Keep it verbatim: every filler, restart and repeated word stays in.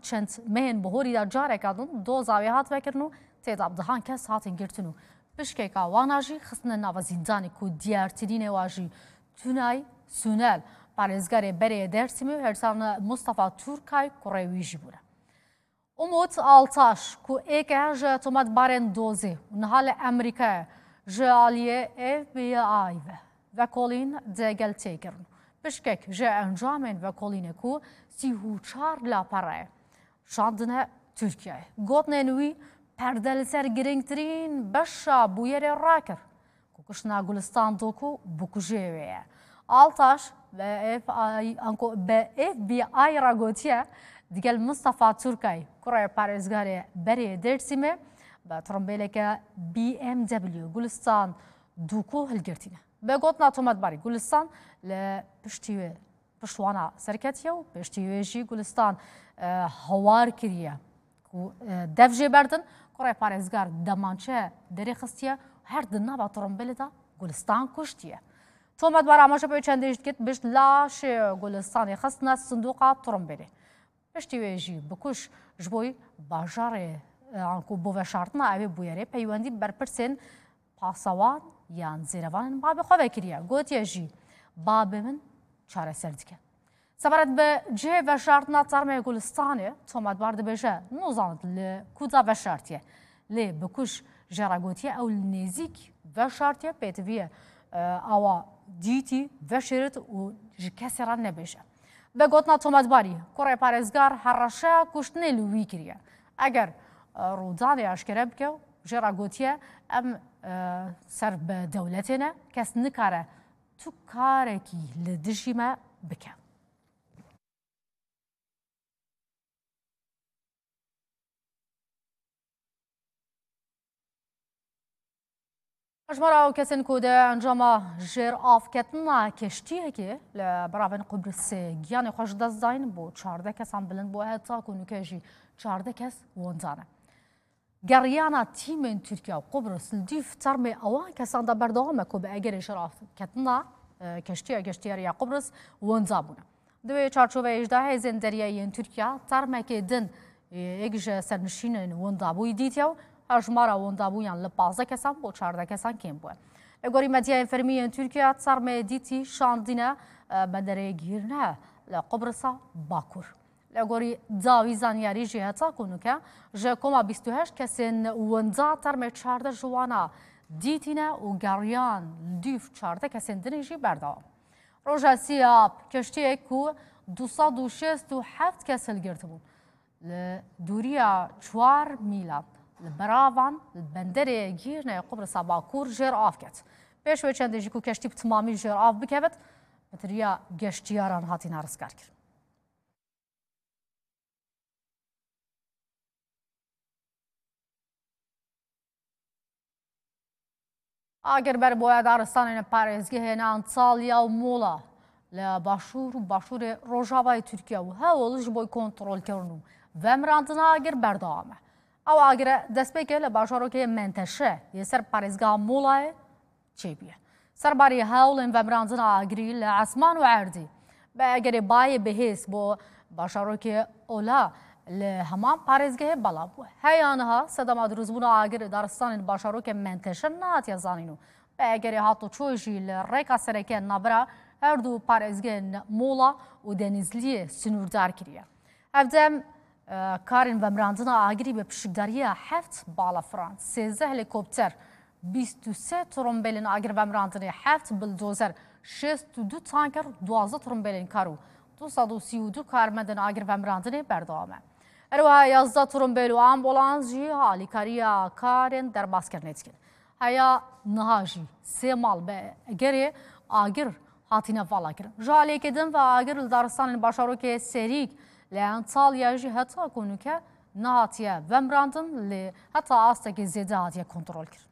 çend mehên bihorî de careke din doza wê hat vekirin û tê de bi dehan kes hatin girtin û pişkeka wana jî xistine nava zîndanê ku diyartirînê wa jî Tunay Sunel, parêzgarê berê Dêrsimê û Hersan Mustafa Turkay kurê wî jî bûne. Umut Altaş ku êke ji tometbarên dozê û niha li Amerîkayê ji aliyê F B I ve vekolîn digel tê kirin. Pişkek ji encamên vekolînê ku sî û çar lapare şandine Tirkiyeyê. Gotinên wî perde li ser girîngtirîn beşa bûyerê rakir ku kuştina Gulistan Doku bikujê wê ye. Altaş bi F I, anku bi F B I re gotiye, digel Mustafa Turkay, kurê parêzgarê berê Dêrsimê, bi trombêleke B M W Gulistan Doku hilgirtîne. Bi gotina tometbarî, Gulistan li piştî wê piştwana serketiye û piştî wê jî Gulistan, e, hawar kiriye ku, e, dev jê berdin. Kurê parêzgar demançe derê xistiye, her di nava trombêlê de Gulistan kuştiye. Tometbar amaje pê çendê jî dikit, pişt laşê Gulistanê xistine sindoqa trombêlê. Piştî wê jî bikuş ji bo bajarê, e, anku bo veşartina evê bûyerê peywendî berpirsên pasewan yan zêrevanên babê xwe vekiriye. Gotiye jî, babê min çareser dike. Sebaret bi cihê veşartina termê Gulistanê, tometbar dibêje, nozanit li ku da veşartiye. Lê bikuş jê re gotiye, ew li nêzîk veşartiye, pêtiviye, e, awa dîtî, veşêrit û ji kesê re nebêje. Bi gotina tometbarî, kurê parêzgar hereşeya kuştinê li wî kiriye. Eger, e, rûdanê eşkere bike, jê re gotiye, em, e, ser bi dewletê ne, kes nikare tu karekî li dijî me bike. Hejmara ew kesên ku di encama jêravketina keştiyekê li beravên Qubrisê giyanê xwe ji dest dayîn, bo çardeh kesan bilind bû, heta ku nûke jî çardeh kes wenda ne. Geriyana tîmên Tirkiye û Qubris li dîv termê ewan kesan de berdewam e ku bi egerê jêravketina, e, keştiya geştiyarî ya Qubris wenda bûne. Di wê çarçoveyê jî de hêzên deryayî yên Tirkiye termekê din, e, yek ji sernişînên wendabûyî dîtiye û hejmara wendabûyan li pazdeh kesan bo çardeh kesan kêm bûye. Li gorî medyayên fermî yên Tirkiye, termê dîtî şandine, e, benderê Gîrne li Qubrisa Bakur. Li gorî dawî zanyarî jî heta ku nûke ji koma bîst û heşt kesên wenda termê çardeh ji wana dîtîne û geriyan li dîv çardeh kesên dinê jî berdewam. Roja sî ap, keştiyek ku du sed û şêst û heft kes hilgirtibûn, li dûriya çar mîlan li beravan li benderê Gîrneyê Qubrisa Bakur jêr av ket. Pêş wê çendê jî ku keştî bi timamî jêr av bikevit, pitiriya geştiyaran hatîne rizgarkirin. Agir ber boya daristanên parêzgehên Antalya û Muğla li başûr û başûrê rojavayê Tirkiye û hewl ji bo kontrolkirin û vemirandina agir berdewam e. Ew agire destpêkê li bajarokê Menteşe yê ser parêzgeha Muğlayê çêbûye. Serbarî hewlên vemirandina agirî li esman û erdî bi egerê bayê bihêz bo bajarokê Ola li heman parêzgehê belav bû. Heya niha sedema dirûzbûna agirê daristanên bajarokê Menteşe nehatiye zanîn û bi egerê hatoçoyê jî li rêka sereke navbera her du parêzgehên Mola û Denizliyê sinûrdar kiriye. Hevdem, e, karên vemirandina agirî bi pişikdariya heft balafiran, sêzdeh helîkopter, bîst û sê trombelên agir vemirandinê, heft bildozer, şêst û du tanker, duwazdeh trombelên kar û du sed û sî û du karmendên agir vemirandinê berdewam e. Her wiha yazdeh trombel û ambulans jî alîkariya karên derbazkirinê dikin. Heya niha jî sê mal bi egerê agir hatine valakirin. Ji aliyekê din ve agir li daristanên bajarokê Serîk li Antalya jî heta ku nûke nehatiye vemirandin, lê heta astekê zêde hatiye kontrolkirin.